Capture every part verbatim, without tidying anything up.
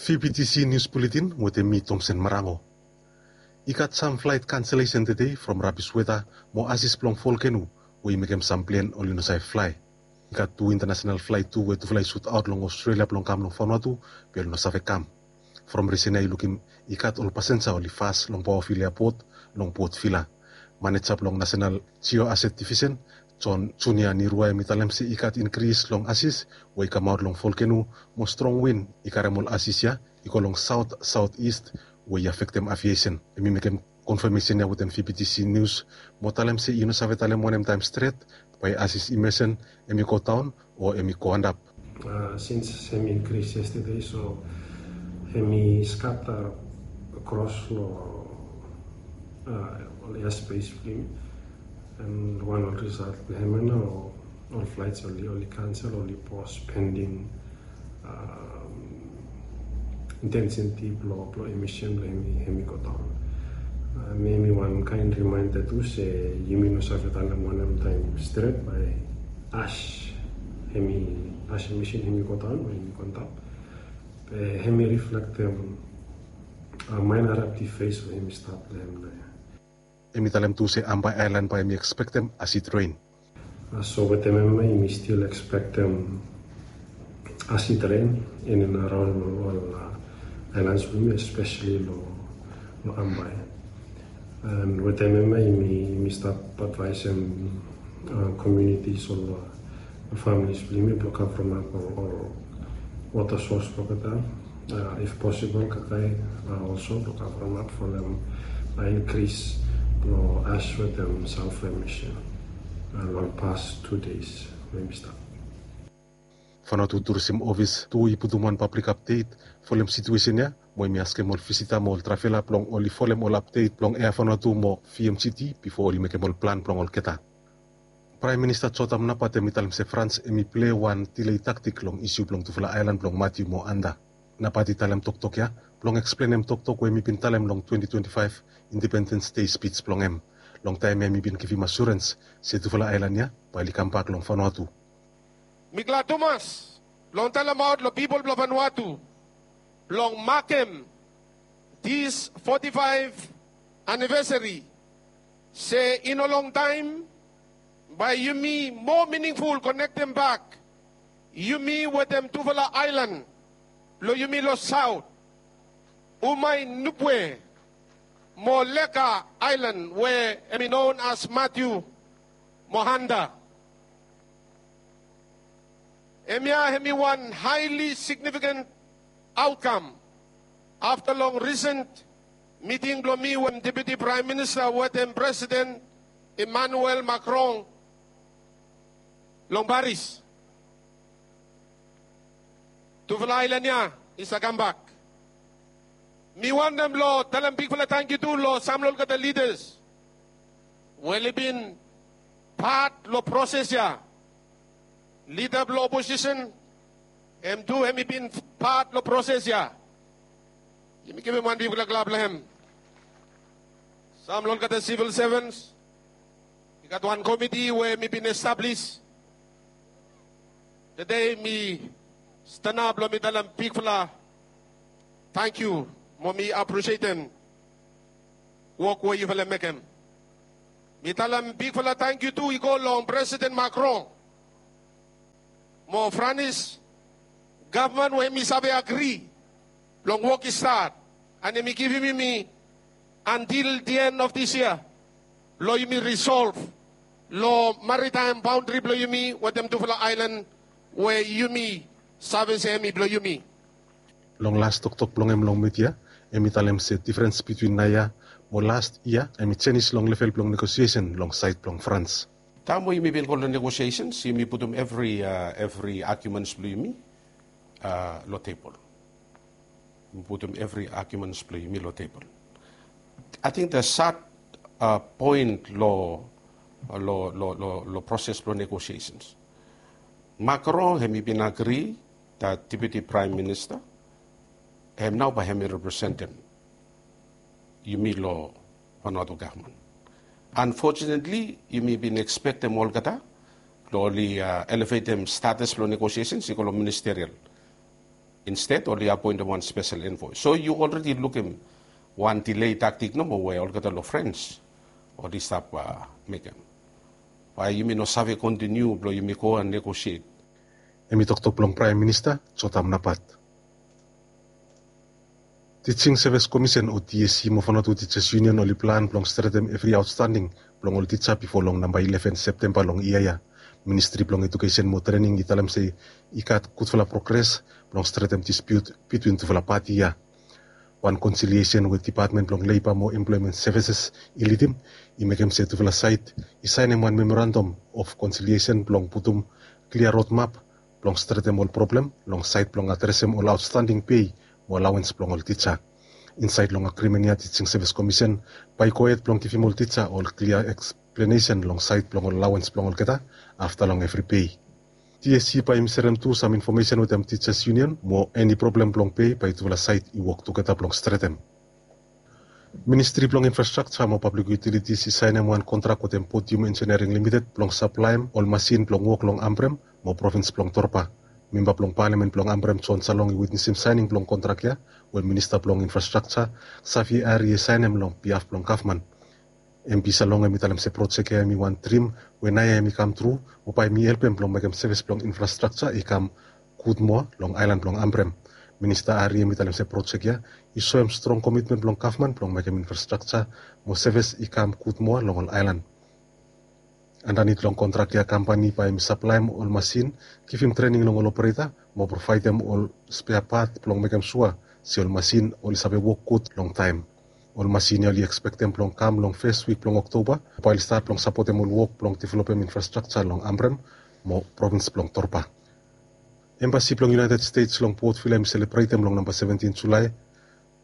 P P T C News Bulletin wetem mi, Tomsen Marango. I gat sam flaet kanselesen tede from rabis weta mo asis blong volkeno we i mekem sam plen oli no save flae. I gat tu intanasenal flaet tu we tufala i sutaot long Australia blong kam long Vanuatu, be oli no save kam. From risen ya i lukim i gat ol pasenja oli fas long Paoafil Eapot long Port Vila. Maneja blong Nasenal Jioaset Divisen, John Junior Nirua, hem i talem se i gat inkris long asis we i kamaot long volkeno mo strong win i karem ol asis ya i go long saot saot ist we i afektem aviesen. Hem i mekem konfamesen ya wetem V P T C News mo talem se i no save talem wanem taem stret bae asis i mesen hem i godaon o hem i go antap. Uh, since hem i inkris yestede, so hem i skata kros long uh, ol airspace blong hem. And wan ol risalt blong hem ya nao ol flaets oli, oli kansel, oli pos pending um, intensiti blong, blong emisen blong hem i, hem i godaon. Uh, mi, mi wan kaen rimaenda tu se yumi no save talem wanem taem stret bae as hem i, as emisen hem i godaon o hem i go antap. Be hem i riflektem uh, maen eraptiv fes we hem i stat long hem naoia. Hem i talem tu se Ambae aelan bae hem i ekspektem asid ren. Uh, so wetem hemia yumi stil ekspektem asid ren in and around ol, ol uh, aelans blong yumi, especially long, long Ambae. And wetem hemia yumi, yumi stap advaesem uh, communities, ol uh, families blong yumi blong kavremap ol, ol wota sos blong olgeta. Uh, if possible, kakae uh, also blong kavremap folem uh, inkris blong as wetem salfa emisen uh, long pas tu deis we yumi stap. Vanuatu Tourism Office tu i putum wan pablik apdet folem situesen ya, mo hem i askem ol visita mo ol travela blong oli folem ol apdet blong Air Vanuatu mo V M G T bifo oli mekem ol plan blong olgeta. Praem Minista Jotam Napat hem i talem se Frans hem i plei wan delay taktik long isiu blong tufala aelan blong Matthew mo Anda. Napat i talem toktok ya blong eksplenem toktok we hem i bin talem long twenty twenty-five Independence Day spij blong hem. Long taem ya hem i bin givim asurens se tufala aelan ya bae oli kambak long Vanuatu. Mi glad tumas blong talemaot long pipol blong Vanuatu blong makem this forty-five anivesari se i no longtaem bae yumi moa miningful konektem bak yumi wetem tufala aelan blong yumi long saot, Umae Nubwe mo Leka aelan we hem i non as Matthew mo Anda. Hemia hem i wan haeli signifikan aotkam afta long risen miting blong mi wetem Deputi Praem Minista wetem Presiden Emmanuel Macron long Paris. Tufala aelan ya i save kambak. Mi wantem blong talem bigfala tangkiu tu long sam long olgeta lidas we oli bin pat long proses ya. Lida blong oposisen hem tu hem i bin pat long proses ya. Yumi givim wan bigfala klap long hem. Sam long olgeta sivil sevens, i gat wan komiti we hem i bin establis. Tede mi stanap blong mi talem bigfala tangkiu mo mi apresietem wok we yufala mekem. Mi talem bigfala tangkiu tu i go long Presiden Macron mo Franis gavman we hem i save agri blong wok i stat, and hem i givim yumi antil the end of this year blong yumi risolv long maritaem baondri blong yumi wetem tufala aelan we yumi save se hem i blong yumi. Long las toktok blong hem long midia, hem i talem se difrens bitwin naoia mo las yia hem i jenis long level blong negosiesen long saed blong Frans. Taem we yumi bin go long negosiesens, yumi putum evri, evri agiumens blong yumi long tebol. Yumi putum evri agiumens blong yumi long tebol. Ating the sad poen long, long, long, long proses blong negosiesens, Macron hem i bin agri that Deputi Praem Minista hem nao bae hem i representem yumi long Vanuatu gavman. Unfortunately, yumi bin ekspektem olgeta blong oli elevetem status blong negosiesens i go long ministerial. Insted oli apoentem wan spesel envoi. So yu olredi lukim wan delay taktik nomo we olgeta long Frens oli stap mekem. Bae yumi no save kontiniu blong yumi go and negosiet. Hem i toktok blong Praem Minista Jotam Napat. Teaching Service Commission o TSC mo Vanuatu Teachers Union oli plan blong stretem evri aotstanding blong ol tija bifo long namba ileven Septemba long yia ya. Ministri blong Ejukesen mo Trening i talem se i gat gudfala progres blong stretem dispiut bitwin tufala pati ya. Wan konsiliesen we Depatmen blong Leiba mo Emploemen Sevises i lidim i mekem se tufala saed i saenem wan memorandam of konsiliesen blong putum klia rodmap blong stretem ol problem long saed blong adresem ol aotstanding pei mo alawens blong ol tija. Insaed long agrimen ya Teaching Service Commission bae i gohed blong givim ol tija ol klia eksplenesen long saed blong ol alawens blong olgeta afta long evri pei. TSC bae i serem tu sam infomesen wetem Teachers Union mo eni problem blong pei bae tufala saed i wok tugeta blong stretem. Ministri blong Infrastrakja mo Pablik Yutilitis i saenem wan kontrak wetem Podium Engineering Limited blong saplaem ol masin blong wok long Ambrem mo provins blong Torba. Memba blong Palamen blong Ambrem John Salong i witnesim saening blong kontrak ya we Minista blong Infrastrakja Xavier Arrie i saenem long bihaf blong gavman. MP Salong hem i talem se projek ya hem i wan drim we naoia hem i kamtru mo bae hem i helpem blong mekem sevis blong infrastrakja i kam gud moa long aelan blong Ambrem. Minista Arrie hem i talem se projek ya i soem strong komitmen blong gavman blong mekem infrastrakja mo sevis i kam gud moa long ol aelan. Andanit long kontrak ya kampani bae hem i saplaem ol masin, givim trening long ol opereta mo provaedem ol spea pat blong mekem sua se ol masin oli save wok gud long taem. Ol masin ya oli ekspektem blong kam long fes wik blong Oktoba bae oli stat blong sapotem ol wok blong developem infrastrakja long Ambrem mo provins blong Torba. Embasi blong United States long Port Vila hem i selebretem long namba seventin Julae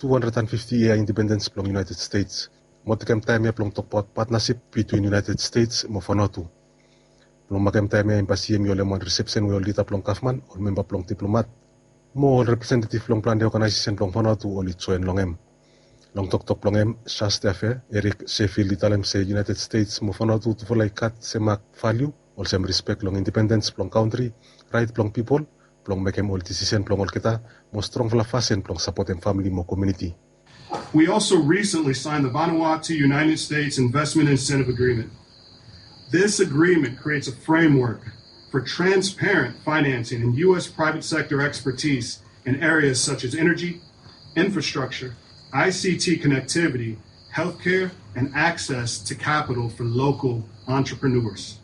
tu handred and fifti yia independens blong United States mo tekem taem ya blong tokbaot patnasip bitwin United States mo Vanuatu. Blong makem taem ya embasi hem i holem wan risepsen we ol lida blong gavman, ol memba blong diplomat mo ol representetiv blong plante oganaesesen blong Vanuatu oli joen long hem. Long toktok blong hem, Charge d'Affaires Eric Sheffield i talem se United States mo Vanuatu tufala i gat semak valiu olsem rispek long independens blong kantri, raet blong pipol blong mekem ol disisen blong olgeta mo strongfala fasin blong sapotem famili mo komuniti. We also recently signed the Vanuatu United States Investment Incentive Agreement. This agreement creates a framework for transparent financing and U S private sector expertise in areas such as energy, infrastructure, I C T connectivity, healthcare, and access to capital for local entrepreneurs.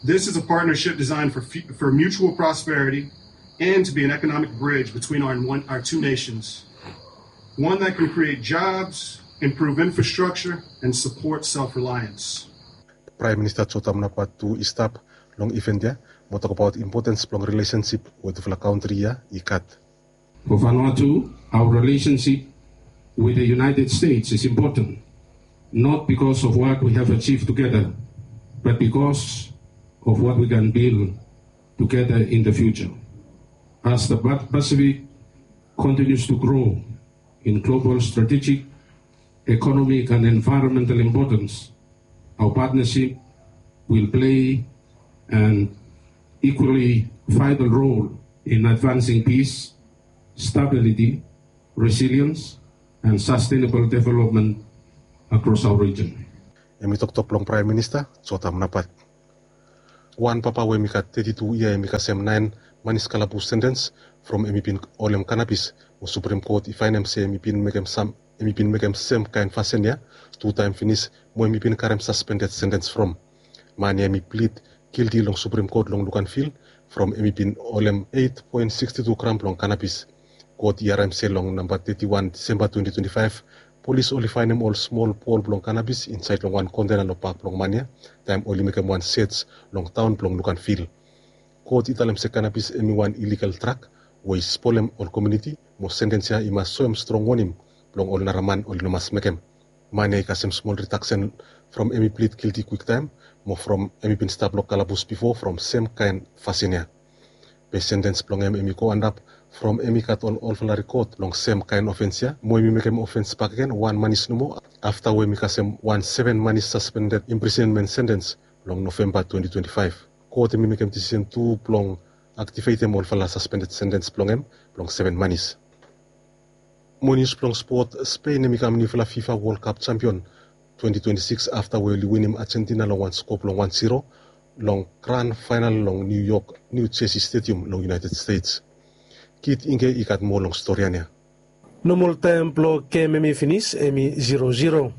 This is a partnership designed for, for mutual prosperity and to be an economic bridge between our, our two nations, one that can create jobs, improve infrastructure, and support self-reliance. Praem Minista Jotam Napat tu i stap long iven ya mo tokbaot impotens blong rilesensip we tufala kantri ya i gat. For Vanuatu, our relationship with the United States is important, not because of what we have achieved together, but because of what we can build together in the future. As the Pacific continues to grow in global strategic, economic and environmental importance, our partnership will play an equally vital role in advancing peace, stability, resilience and sustainable development across our region. Hem i toktok blong Praem Minista Jotam Napat. Wan papa we hem i gat teti tu yia hem i kasem naen manis kalabus sentens from hem i bin holem kanabis mo Suprem Kot i faenem se hem i bin mekem sam hem i bin mekem sem kaen fasin ya tu taem finis mo hem i bin karem saspendet sentens from. Man ya hem i plid gilti long Suprem Kot long Luganvil from hem i bin holem eit poen siksti tu gram blong kanabis. Kot i harem se long namba teti wan Disemba twenti twenti faef, polis oli faenem ol smol bol blong kanabis insaed long wan kontena long bak blong man ya taem oli mekem wan sej long taon blong Luganvil. Kot i talem se kanabis hem i wan iligal drag we i spolem ol komuniti mo sentens ya i mas soem strong wonim blong ol nara man oli no mas mekem. Man ya i kasem smol ridaksen from hem i plid gilti kwiktaem mo from hem i bin stap long kalabus bifo from sem kaen fasin ya. Be sentens blong hem hem i go antap from hem i gat ol olfala rikot long sem kaen ofens ya mo hem i mekem ofens bakegen wan manis nomo afta we hem i kasem wan seven manis saspendet imprisenmen sentens long Novemba twenti twenti faef. Kot hem i mekem disisen tu blong aktivetem olfala saspendet sentens blong hem blong seven manis. Mo nius blong spot, Spain hem i kam niufala fifa World Cup champion twenty twenty-six afta we oli winim Argentina long wan skop long wan zero long gran fainal long New York New Jersey Stadium long United States. Kit Inge i gat moa long stori ya. Nomol taem blong gem hem i finis hem i zero zero.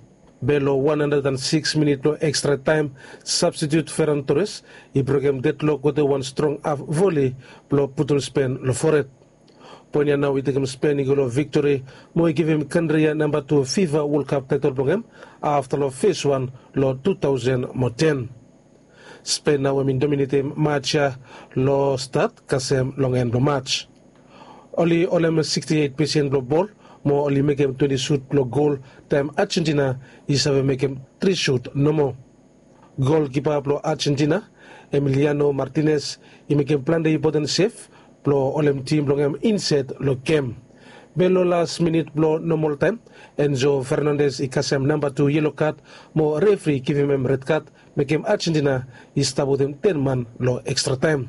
Be long wan handred and six minit blong ekstra taem, sabstitiut Ferran Torres i brokem dedlok wetem wan strong haf voli blong putum Spen long fored. Poen ya nao i tekem Spen i go long viktori mo i givim kantri ya namba tu fifa World Cup taetol blong hem afta long fes wan long tu taosen mo ten. Spen nao hem i dominetem maj ya long stat kasem long en blong maj. Oli holem siksti eit pesen blong bol mo oli mekem twenti sut blong gol taem Argentina i save mekem tri sut nomo. Golkipa blong Argentina, Emiliano Martinez, i mekem plante impoten sev blong holem tim blong hem insaed long gem. Be long las minit blong nomol taem, Enzo Fernandez i kasem namba tu yelo kad mo refri i givim hem red kad, mekem Argentina i stap wetem ten man long ekstra taem.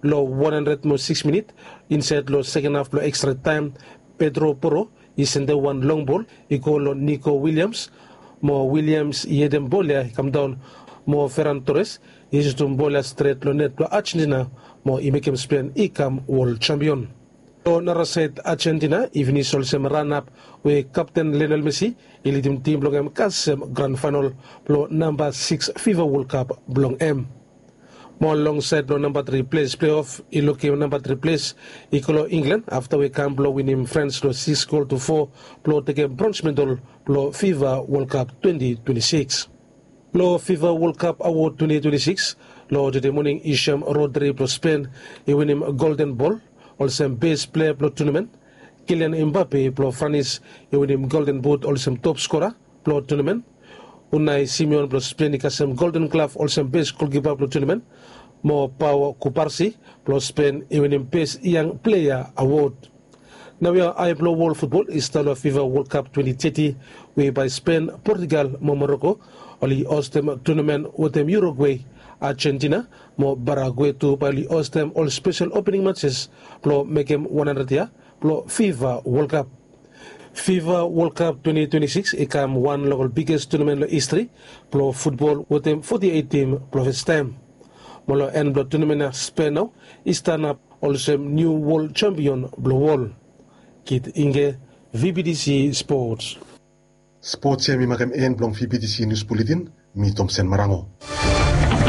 Long wan handred mo sikis minit, insaed long seken haf blong ekstra taem, Pedro Porro i sendem wan long bol i go long Nico Williams, mo Williams i hedem bol ya i kamdaon, mo Ferran Torres i sutum bol ya stret long net blong Argentina mo i mekem Spen i kam wol jampion. Long narasaed Argentina i finis olsem ranap we kapten Lionel Messi i lidim tim blong hem kasem gran faenol blong namba sikis fifa World Cup blong hem. Mo long saed blong namba tri ples pleof i lukim namba tri ples i go long Inglan afta we kam blong winim Frans long sikis gol tu fo blong tekem brons medal blong fifa World Cup twenti twenti sikis. Long fifa World Cup awod twenti twenti sikis, long tede moning i sem Rodri blong Spen i winim Golden Bol olsem bes plea blong tunamen, Kilian Imbape blong Franis i winim Golden But olsem top skora blong tunamen, Unai Simeon blong Spen i kasem Golden Glav olsem bes golkipa blong tunamen, mo Pau Kubarsi blong Spen i winim bes yang plea awod. Naoia ae blong wol futbol i stap long fifa World Cup twenti teti we bae Spen, Portugal mo Moroko oli hostem tunamen wetem Urugwe, Argentina mo Paragwe tu bae oli hostem ol spesel opening matses blong mekem wan handred yia blong fifa World Cup. Fifa World Cup twenti twenti sikis i kam wan long ol biges tunamen long histri blong futbol wetem foti eit tim blong fastaem. Mo long en blong tunamen ya Spen nao i stanap olsem niu wol jampion blong wol. Kit Inge, V B T C Sports. Sports ya mi makem en blong V B T C News Bulletin. Mi Tomsen Marango.